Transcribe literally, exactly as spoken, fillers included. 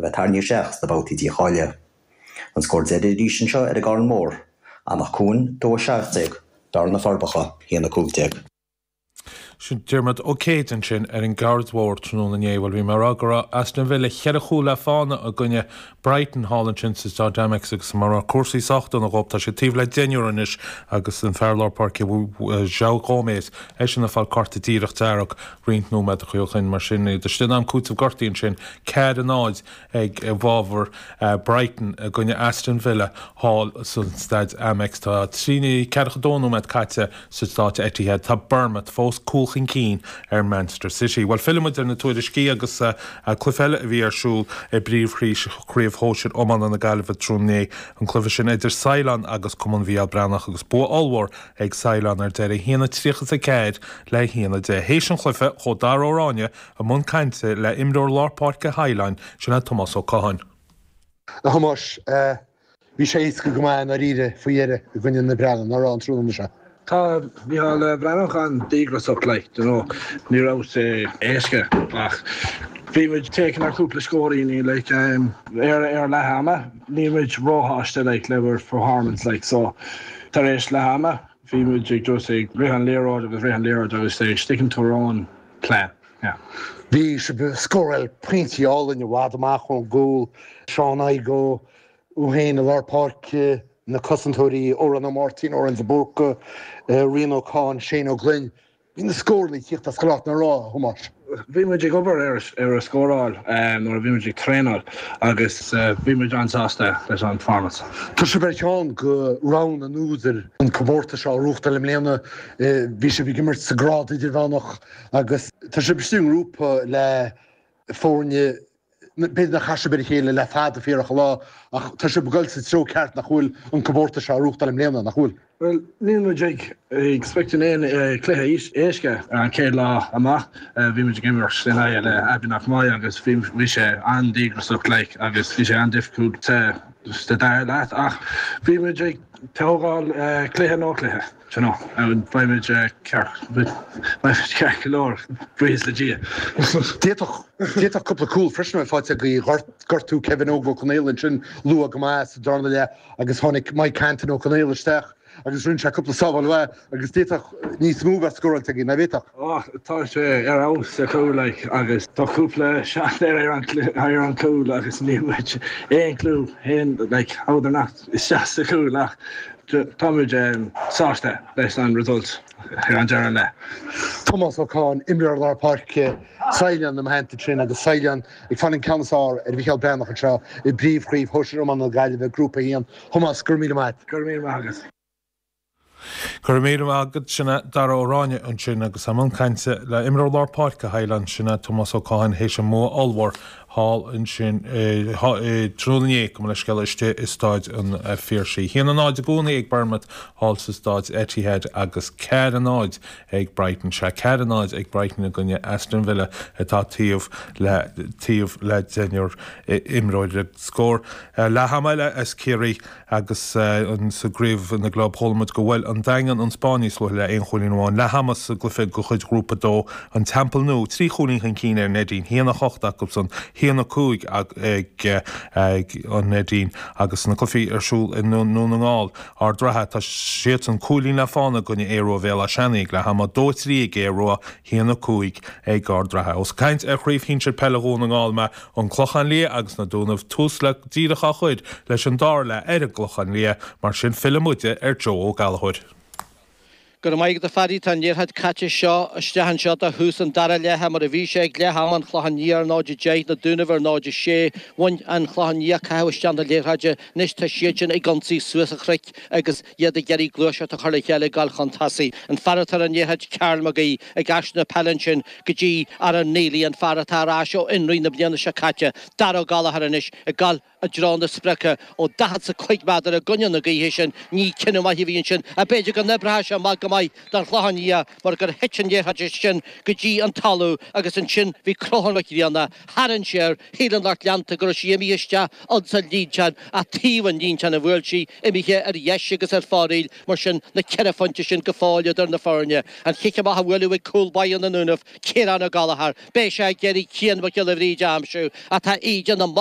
a bheith tarraingthe isteach sna babhtaí dícháilithe. An scór deiridh arís anseo ar an gCarn Mór, Anach Cuain dó a seacht déag, Bearna Forbacha haon a cúig déag. Sin Diarmuid Ó Céid ansin ar an gCairn Mhór tráthnóna inné. Bhuel bhí mé ag rá go raibh Aston Villa cheithre chúl le fána i gcoinne Brighton thall ansin sa Staid Amex agus mar raibh cúrsaí sách dona dhóibh tá sé taobh le deichniúr anois agus an fear lár páirce João Gomes eisean ag fáil cárta díreach dearg roinnt nóiméad ó shin mar sin iad istigh in am cúitimh gortaithe ansin ceathair a náid ag i bhfabhar Brighton i gcoinne Aston Villa thall san Staid Amex. Tá trí ceathracha dó nóiméad caite sa Staid Etihad tá Bournemouth fós cúl chun cinn ar Manchester City. Well fillfimid ar na tuairiscí agus uh, cluiche eile a bhí ar siúl i bpríomhchraobh shóisir iomána na Gaillimhe tráthnóna an cluiche sin idir Saighleán agus Cumann Mhicheál Breathnach agus bua ollmhór ag Saighleán ar deireadh haon a tríocha a ceathair le haon a deich. Théis an chluiche chuaigh Dara Ó Ráinne i mbun cainte le imreoir lár páirce Shaighleáin sin é Tomás Ó Catháin. A Thomáis bhí sé éasca go maith dáiríre faoi dheireadh i gcoinne na Breathnaigh ná raibh an tráthnóna seo. Tá Micheál Breathnach an-díograiseach like you know ní raibh sé éasca ach bhí muid taking ar cúpla scóiríní like um, ar ar leath ama ní muid róshásta like le performance like so tar éis leath ama bhí muid ag just ag rith an liathróid agus rith an liathróid agus ag sticking to our own plan. Yeah. Bhí sé scóráil pointí álainn i bhfad amach ón gcúl Seán Igo uhéin i lár páirce na cosantóirí Óran Ó Máirtín Óran de Búrca Rian O'Cáin Shane Ó Glinn. Bhí na scóranna ag tíocht as gach áit nach raibh a Thomáis. Bhí muid ag obair ar ar a scóráil nuair a bhí muid ag traenáil agus bhí muid an-sásta leis an performance. Tá sé ber ceann go rogha an údair an comórtas seo reáchtáil i mbliana bhí sé ag imirt sa grád idirmheánach agus tá sé b'stú grúpa le foirne b'fhéidir nach chas sibh ar a chéile le fada fíorach lá ach tá sé ag dul sa treo ceart nach bhfuil an comórtas seo reáchtáil i mbliana nach bhfuil. Well níl muid ag expecting aon cluiche éasca an chéad lá amach bhí muid ag imirt in aghaidh le Abbeyknockmoy agus bhí sé an-díograiseach like agus bhí sé an-difficult sa dara leath ach bhí muid ag tógáil cluiche nó cluiche. You know, beimid ceart ceart go leor buíochas le Dia. D'fhéadfadh cúpla cúl freisin faighte go gortú Kevin Óg Ó Conaola sin luath go maith sa darna leath agus tháinig Mike Canton Ó Conaola isteach agus rinne sé cúpla sábháil mhaith agus d'fhéadfadh níos mó bheith scóráilte agaibh nach bhféadfadh. Tá sé ar fheabhas sa chúl like, agus tá cúpla seat ar an ar an cúl agus ní muid aon clue haon like, how nach isteach sa chúl ach táimid um, sásta leis an result ar an deireadh le. Tomás Ó Catháin imreoir lár páirce Saighleán na maitheanta sin agus Saighleán ag fáil an ceann is fearr ar Mhicheál Breathnach anseo i bpríomhchraobh shóisir iomána na Gaillimhe grúpa a haon. Tomás gur mí maith. Gur mí agus. Gur mí agad sinna dar óráine an sin agus am an cainte le imreoir lár páirce Shaighleáin sin é Tomás Ó Catháin théis an mbua ollmhór thall ansin tráthnóna go le scéal istigh i Staid an Phiarsaigh. Haon a náid i gcónaí ag Bournemouth thall sa Staid Etihad agus ceathair a náid ag Brighton sé ceathair a náid ag Brighton i gcoinne Aston Villa atá taobh le taobh le deichniúr imreoir scór leath ama eile as Ciarraí agus an sa gcraobh na gclub chuala muid go bhfuil an Daingean an Spáinn níos luaithe le aon chúilín amháin leath ama sa gcluiche de chuid ghrúpa dó an Teampall Nua trí chúilín chun cinn ar Neidín haon a hocht acusan haon a cúig ag ag an Neidín agus na cluichí ar siúl i nDún na nGall Ard Ratha tá siad an cúilín le fána i gcoinne Aodh Rua Bhéal Átha Seanaidh leath ama dó trí ag Aodh Rua haon a cúig ag Ard Ratha. Os caint ar chraobh shinsir peile Dhún na nGall me an Clochán Liath agus na Dúnaibh tús le díreach á chur leis an dara leath ar an gClochán Liath mar sin fillfimid ar Joe Ó Gallchóir. Go maith do Phaddy tá an liathróid caite seo isteach anseo do thús an dara leath mar a bhí sé ag leath ama an Clochán Liath ar náid deich na Dúnaibh ar náid sé bhain an Clochán Liath caitheamh isteach na liathróide anois tá siad sin ag ionsaí suas an chnoic agus iad ag iarraidh gluaiseacht a chur le chéile gal chun tosaigh. An fear atá an liathróid Karl McGee ag aistriú na peile sin go dtí Aaron Neely an fear atá ar ais ó fhionraí na bliana seo caite. Dara Gallagher anois ag gabháil i dtreo na sprice ó daichead sa cúig méadar i gcoinne na gaoithe sin ní cinneadh maith a bhí ansin a b'fhéidir go n-oibreoidh sé amach go maith don Chlochán Liath mar gur thit an liathróid sin go dtí an talamh agus ansin bhí Crothán Mac Grianna tharraing sé air shíl an lucht leanta go raibh sí imithe isteach ansa líntán a taobh an líntán a bhuail sí imithe ar dheis agus ar fóraoil mar sin na ceithre phointe sin go fóill idir na foirne. An chic amach a bhualadh ag cúl báire na nDúnaibh Ciarán Ó Gallchóir, Beidh sé ag iarraidh Cian Mac Giolla Bhríde a aimsiú atá íde na